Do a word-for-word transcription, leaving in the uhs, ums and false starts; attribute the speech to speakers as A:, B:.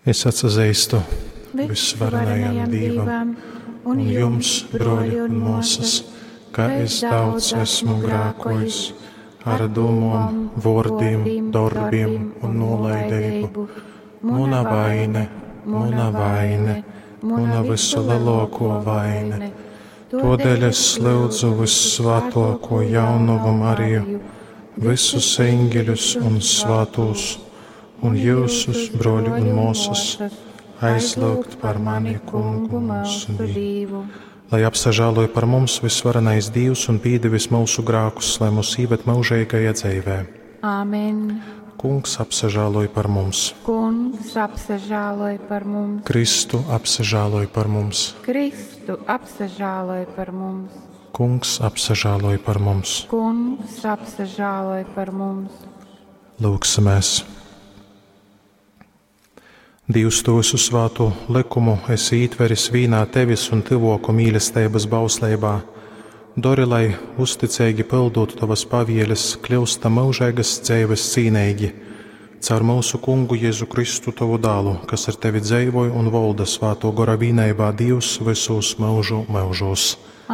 A: Es atsazeistu vysvarenajam Dīvam un jums, brōļi un mōsas, ka es daudz esmu grākojis ar dūmom, vōrdim, dorbim un nūlaideibu. Muna vaine, muna vaine, muna vysulelōkō vaine. Tōdēļ es lyudzu vyssvātōkū jaunovu Mariju, vysus eņģeļus un svātūs, un jyusus, brōļi un mōsas, aizlyugt par mani Kungu myusu Dīvu. Lai apsažāloj par mums vysvarenais Dīvs un pīdevis myusu grākus, lai mūs īved myužeigajā dzeivē.
B: Āmen.
A: Kungs apsažāloj par mums.
B: Kungs apsažāloj par mums.
A: Kristu apsažāloj par mums.
B: Kristu apsažāloj par mums.
A: Kungs apsažāloj par mums.
B: Kungs apsažāloj par mums.
A: Lūgsimies! Dievs, tu visu svātu likumu esi ītveris vīnā tevis un tyvōku mīlesteibas bausleibā. Dori, lai uzticeigi pildot tovas pavieles, kļūstam myužeigas dzeives cīneigi. Caur myusu Kungu Jēzu Kristu tovu dālu, kas ar tevi dzeivoj un volda svātō gora vīneibā Dīvs vysūs myužu myužūs.